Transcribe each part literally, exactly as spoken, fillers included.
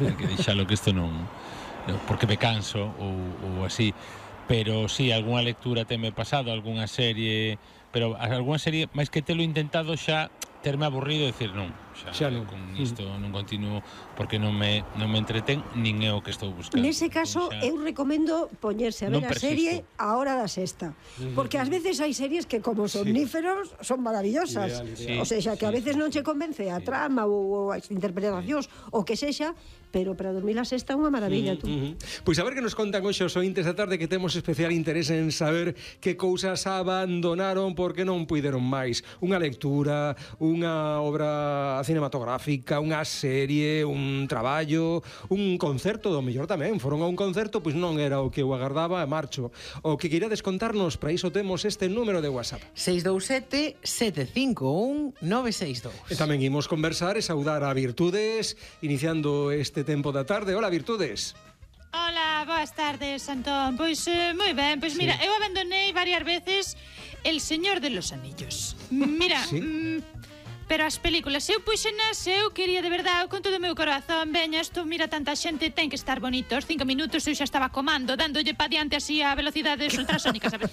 hai que deixalo que isto non, porque me canso ou, ou así, pero si, sí, algunha lectura teme pasado, algunha serie, pero algunha serie, máis que telo intentado xa terme aburrido e dicir non, xa, xa non. Con isto non continuo porque non me, non me entretén nin é o que estou buscando. Nese caso, xa... eu recomendo poñerse a ver a serie a hora da sexta, porque ás veces hai series que como somníferos sí. son maravillosas, ideal, ideal. O sea, que sí, a veces non che convence a sí. trama ou as interpretacións sí. o que sexa, pero para dormir a sexta é unha maravilla, tú. Uh -huh. Pois a ver que nos contan hoxe os ointes da tarde, que temos especial interés en saber que cousas abandonaron porque non puideron máis. Unha lectura, unha obra cinematográfica, unha serie, un traballo, un concerto, do mellor tamén. Foron a un concerto, pois non era o que eu agardaba, e marcho. O que queirades contarnos, para iso temos este número de WhatsApp. seis dous sete, sete cinco un, nove seis dous. E tamén imos conversar e saudar a Virtudes, iniciando este tempo da tarde. Hola, Virtudes. Hola, boas tardes, Antón. Pois eh, moi ben, pois sí. mira, eu abandonei varias veces El Señor de los Anillos. Mira, ¿sí? mm, pero as películas, eu puxenas, eu quería de verdade, con todo o meu corazón, veña, isto, mira, tanta xente, ten que estar bonito. Os cinco minutos eu xa estaba comando, dándolle pa diante así a velocidade ultrasónica, sabes?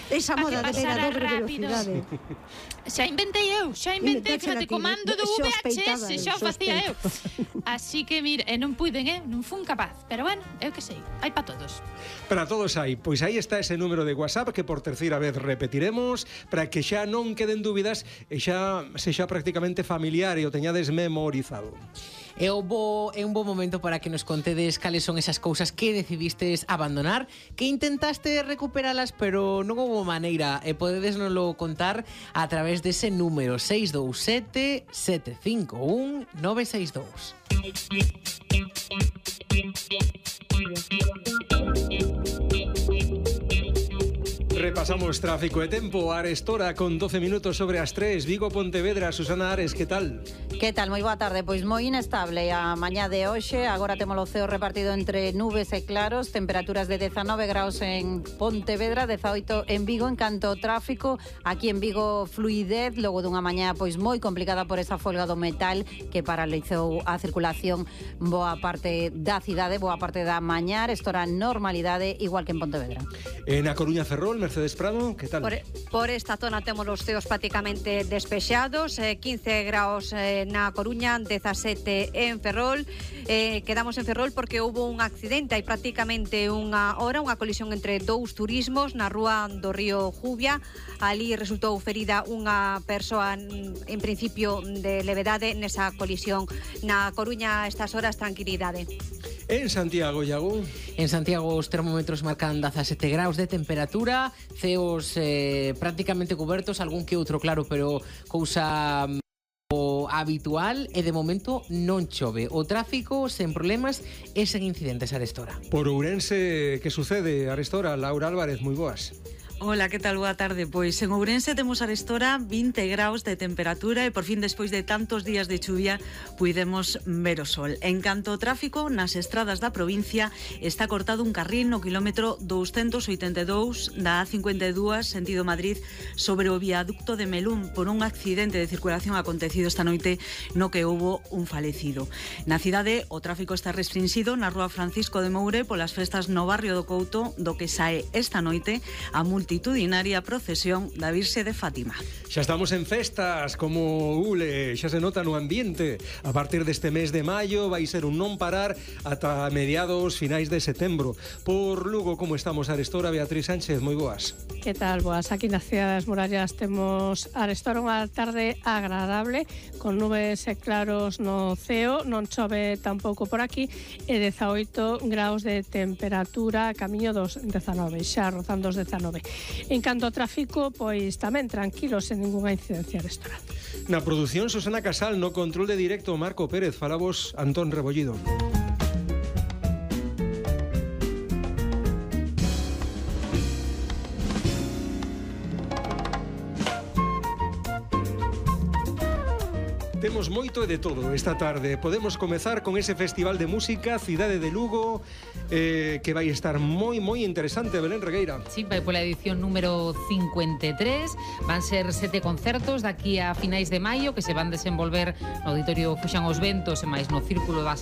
Esa moda de ver a dobre velocidade. Xa inventei eu, xa inventei, fíjate, comando do V H S, xa o facía eu. Así que, mira, non puiden, eh, non fun capaz. Pero bueno, eu que sei, hai pa todos. Para todos hai, pois aí está ese número de WhatsApp que por terceira vez repetiremos para que xa non queden dúbidas e xa sexa prácticamente familiar e o teñades memorizado. É un, bo, é un bo momento para que nos contedes cales son esas cousas que decidistes abandonar, que intentaste recuperalas, pero non houve maneira, e podedes nos lo contar a través dese número seis dous sete, sete cinco un, nove seis dous. Repasamos tráfico e tempo. Arestora con doce minutos sobre as tres. Vigo, Pontevedra. Susana Ares, que tal? Que tal? Moi boa tarde. Pois moi inestable a mañá de hoxe. Agora temos o ceo repartido entre nubes e claros. Temperaturas de dezanove graus en Pontevedra, dezaoito en Vigo. En canto ao tráfico, aquí en Vigo fluidez, logo dunha mañá pois moi complicada por esa folga do metal que paralizou a circulación boa parte da cidade, boa parte da mañá. Estora normalidade igual que en Pontevedra. En A Coruña, Ferrol, Mercedes Prado, que tal? Por, por esta zona temos os ceos prácticamente despexados, eh, quince graus eh, na Coruña, dezasete en Ferrol. Eh, quedamos en Ferrol porque houve un accidente, hai prácticamente unha hora, unha colisión entre dous turismos na rúa do río Jubia. Ali resultou ferida unha persoa en principio de levedade nesa colisión. Na Coruña a estas horas tranquilidade. En Santiago, Iago? En Santiago os termómetros marcan dezasete graus de temperatura, ceos eh, prácticamente cobertos, algún que outro claro, pero cousa o habitual, e de momento non chove. O tráfico sen problemas e sen incidentes a Arestora. Por Ourense, que sucede, Arestora? Laura Álvarez, moi boas. Hola, que tal? Boa tarde. Pois en Ourense temos arestora vinte graus de temperatura e por fin, despois de tantos días de chuvia, puidemos ver o sol. En canto ao tráfico, nas estradas da provincia está cortado un carril no quilómetro douscentos oitenta e dous da A cincuenta e dúas sentido Madrid sobre o viaducto de Melún por un accidente de circulación acontecido esta noite no que houbo un falecido. Na cidade, o tráfico está restringido na rúa Francisco de Moure polas festas no barrio do Couto, do que sae esta noite a multitudinaria procesión da Virxe de Fátima. Xa estamos en festas como Ule, xa se nota no ambiente. A partir deste mes de maio vai ser un non parar ata mediados finais de setembro. Por Lugo, como estamos, Arestora? Beatriz Sánchez, moi boas. Que tal, boas? Aquí na Cidade das Murallas temos Arestora unha tarde agradable con nubes e claros no ceo, non chove tampouco por aquí e dezaoito graus de temperatura, camiño dos dezanove, xa rozando os dezanove. En canto ao tráfico, pois tamén tranquilos, sen ningunha incidencia Arestora. Na produción, Susana Casal, no control de directo, Marco Pérez, falamos Antón Rebollido. Temos temos moito e de todo esta tarde. Podemos comezar con ese Festival de Música Cidade de Lugo, eh, que vai estar moi, moi interesante, Belén Regueira. Sí, vai pola edición número cincuenta e tres. Van ser sete concertos daqui a finais de maio que se van desenvolver no Auditorio Fuxan os Ventos e máis no Círculo das